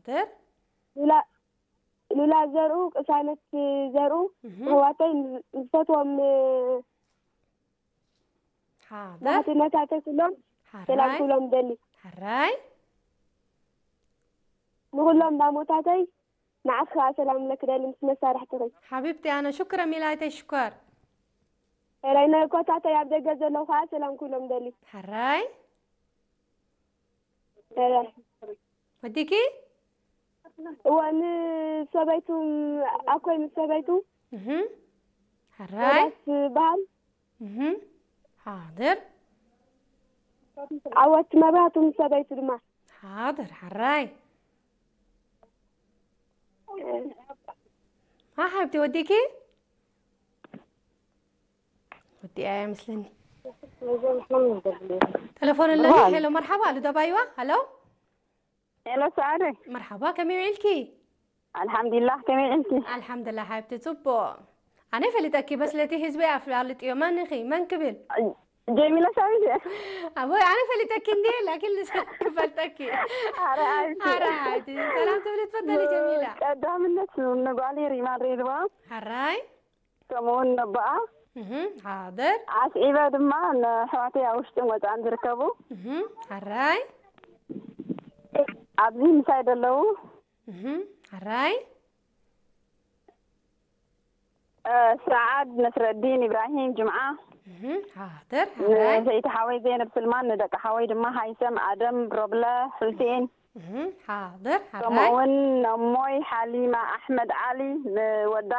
ሓድር። ሉላ ሉላ ዘርኡ፣ ቅሳነት ዘርኡ፣ እህ። ኣሕዋተይ፣ ዝፈትዎም ሓድር። ናሕትነታተይ ኩሎም ሰላም ሓራይ። ኩሎም ደሊ። ሓራይ። ንኩሎም ዳሞታተይ ንዓኺ ከዓ ሰላም ለክ ደሊ ምስ መሳርሕትኺ። ሓቢብቲ ኣነ ሽኩረ ሚላይተይ ሽኮር። ኤረይ ናይ ኮታተይ ኣብ ደገ ዘለዉ ከዓ ሰላም ኩሎም ደሊ። ሓራይ። ኤረይ ወዲኪ? እወ ንሰበይቱ ኣኮይ ምስ ሰበይቱ እህ። ሓራይ። ሮዳስ በሃል እህ። ሓድር። ዓወት መብራህቱ ምስ ሰበይቱ ድማ ሓድር ሓራይ። ሓ ሓብቲ ወዲኪ? ወዲኣ እያ መስለኒ። ተለፎን ኣለኒ። ሄሎ መርሓባ ኣሉ ደባይዋ። ሃሎ ሄሎ ሰዓደ። መርሓባ ከመይ ውዒልኪ? ኣልሓምዱሊላህ ከመይ ውዒልኪ? ኣልሓምዱሊላህ ሓብቲ ጽቡቕ። ኣነ ፈሊጠኪ በስለቲ ህዝቢ ኣፍላልጥዮ መን ኢኺ መን ክብል? ጀሚላ ሳሚት። ኣቦይ ኣነ ፈሊጠኪ እንዴ ላኪን ልስ ክፈልጠኪ። ኣረ ሓብቲ። ኣረ ሓብቲ ሰላም ትብሊ ትፈተሊ ጀሚላ። ቀዳምነት ንጓሊ ሪማን ሬድዋ ሓራይ ከምኡ እውን ነቦኣ እህ ሓደር ኣስዒበ ድማ ንኣሕዋተይ ኣብ ውሽጥን ወፃእን ዝርከቡ እህ ሓራይ ኣብዚ ምሳይ ዘለዉ እህ ሓራይ እ፣ ሰዓድ ነስረዲን ኢብራሂም ጅምዓ እህ ሓደር ሓራይ ንሰይቲ ሓወይ ዘይነብ ስልማን ንደቂ ሓወይ ድማ ሃይሰም ኣደም ሮብለ ሑሴን እህ ሓደር ከምኡ ሓራይ እውን ነሞይ ሓሊማ ኣሕመድ ዓሊ ንወዳ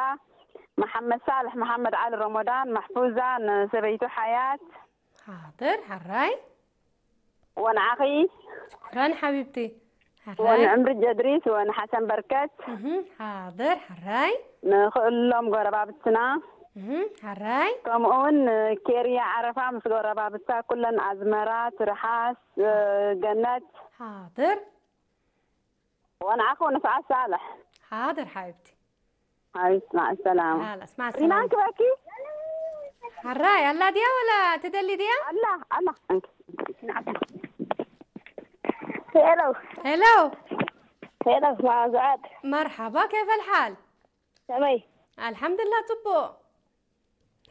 መሓመድ ሳልሕ መሓመድ ዓሊ ረሞዳን ማሕፉዛ ንሰበይቱ ሓያት ሓደር ሓራይ ወንዓኺ ሽኩራን ሓቢብቲ ሓራይ ወንዕምሪ ጀድሪስ ወንሓሰን በርከት እህ ሓደር ሓራይ ንክእሎም ጎረባብትና እህ ሓራይ ከምኡውን ንኬርያ ዓረፋ ምስ ጎረባብታ ኩለን ኣዝመራ ትርሓስ እ፣ ገነት ሓደር ወንዓኹ ንፍዓት ሳልሕ ሓደር ሓቢብቲ ሓቢት ማዕ ሰላማ ሓላስ ማዕ ሪናን ሰላም ክበኪ ሓራይ ኣላ ድያ ወላ ትደሊ ድያ ኣላ ኣላ እንክ ሄሎ ሄሎ ሄሎ ማዛት መርሓባ ከይፈ ልሓል ከመይ ኣልሓምዱላ ጽቡቕ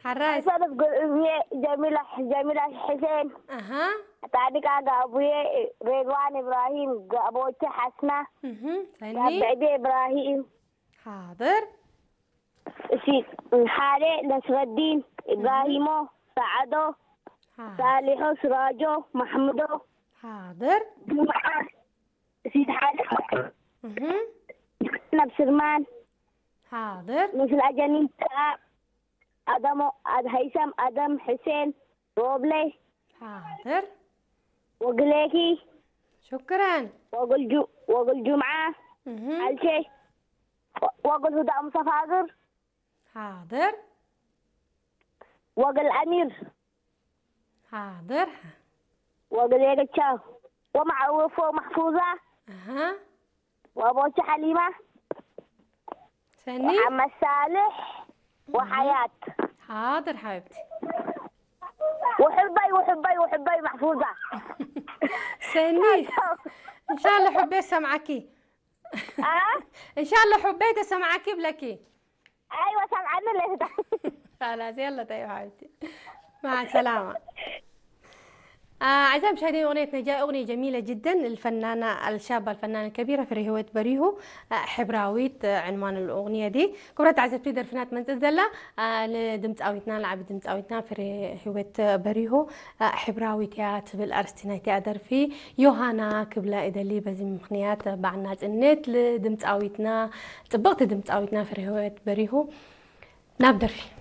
ሓራይ ሰለፍ እየ ጀሚላ ጀሚላ ሕሴን ኣሃ ጣዲቃ ጋቡዬ ሬድዋን ኢብራሂም ጋቦቼ ሓስና እህ ሰኒ ጋብዕዴ ኢብራሂም ሓደር እሺ ሓደ ነስረዲን ኢብራሂሞ ሰዓዶ ሓ- ሳሊሖ ስራጆ ማሕሙዶ ሓደር ጁምዓ እሺ ሓደ እህ ነብስርማን ሓደር ምስላ ጀኒን ኣደሞ ኣድ ሃይሰም ኣደም ሕሴን ሮብሌ ሓደር ወግሌኪ ሽኩራን ወግል ጁ- ወግል ጁምዓ እህ ኣልቼ ወግል ሁዳ ሙሰፋግር ሓደር ወግል ኣሚር ሓደር ወግል የገቻ ወማዕወፎ ማሕፉዛ ኣሃ ወቦች ሓሊማ ሰኒ ወሓመድ ሳልሕ ወሓያት ሓደር ሓቢብቲ ውሕበይ ውሕበይ ውሕበይ ማሕፉዛ ሰኒ እንሻላ ሑቤ ሰምዓኪ ኣ እንሻላ ሑቤ ተሰምዓኪ ብለኪ ኣይወ ሰምዓኒ ለስዳ خلاص يلا طيب حبيبتي مع السلامة. آه، أعزائي المشاهدين، أغنية نجاة أغنية جميلة جدا للفنانة الشابة الفنانة الكبيرة فريهوت بريهو. آه، حبراويت، آه، عنوان الأغنية دي. كبرت عزبتي درفنات من تزدلا، آه، لدمت أويتنا لعب دمت أويتنا فريهوت بريهو. آه، حبراويت يا تبل أرستينا تيا درفي يوهانا كبلا إدلي بزي مخنيات بعنا تنت لدمت أويتنا طبقت دمت أويتنا فريهوت بريهو. ناب درفي.